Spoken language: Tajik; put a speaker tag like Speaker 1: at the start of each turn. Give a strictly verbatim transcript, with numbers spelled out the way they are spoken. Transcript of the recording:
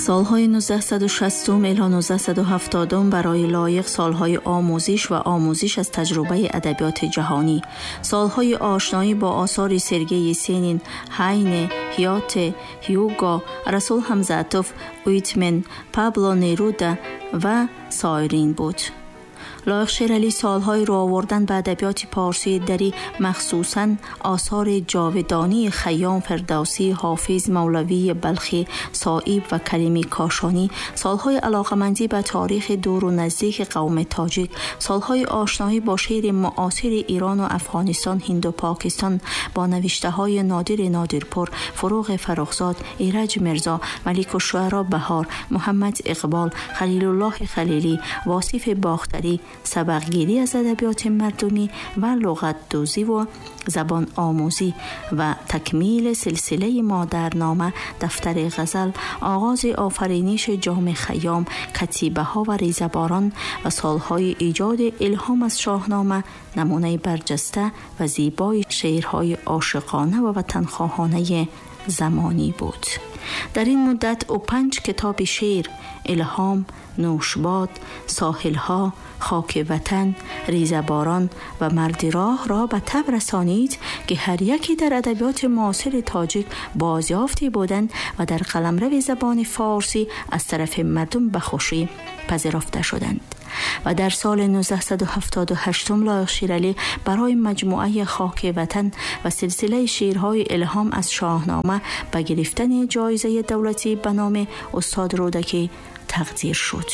Speaker 1: Солҳои нуздаҳсаду шастум ило нуздаҳсаду ҳафтодум барои Лоиқ солҳои омӯзиш ва омӯзиш аз таҷрибаи адабиёти ҷаҳонӣ, солҳои ошноӣ бо осори Сергей Есенин, Ҳайне, Ҳёте, Ҳюго, Расул Ҳамзатов, Уитмен, Пабло Неруда ва соирин буд. Лоиқ Шералӣ солҳои рӯ овардан ба адабиёти порсии дарӣ, махсусан осори ҷовидонии Хайём, Фирдавсӣ, Ҳофиз, Мавлавии Балхӣ, Соиб ва Карими Кошонӣ, солҳои алоқамандӣ ба таърихи дуру наздики қавми тоҷик, солҳои ошноӣ бо шеъри муосири Ирону Афғонистон, Ҳинду Покистон, бо навиштаҳои Нодири Нодирпур, Фуруғи Фаррухзод, Ираҷ Мирзо, Маликушшуаро Баҳор, Муҳаммад Иқбол, Халилуллоҳи Халилӣ, Восифи Бохтарӣ, сабақгирӣ аз адабиёти мардумӣ ва луғатдӯзиву забономӯзӣ ва такмили силсилаи Модарнома, Дафтари ғазал, оғози офариниши Ҷоми Хайём, катибаҳо ва Резаборон ва солҳои эҷоди Илҳом аз Шоҳнома намунаи барҷаста ва зебои шеърҳои ошиқона ва ватанхоҳонаи замонӣ буд. Дар ин муддат ӯ панҷ китоби шеър: Илҳом, Нӯшбод, Соҳилҳо, Хоки ватан, Резаборон ва Марди роҳро ба таб расонид, ки ҳар яке дар адабиёти муосири тоҷик бозёфте буданд ва дар қаламрави забони форсӣ аз тарафи мардум ба хушӣ пазирофта шуданд. Ва дар соли нуздаҳсаду ҳафтоду ҳашт Лоиқ Шералӣ барои маҷмӯаи Хоки ватан ва силсилаи шеърҳои Илҳом аз Шоҳнома ба гирифтани ҷоизаи давлатӣ ба номи устод Рӯдакӣ тақдир шуд.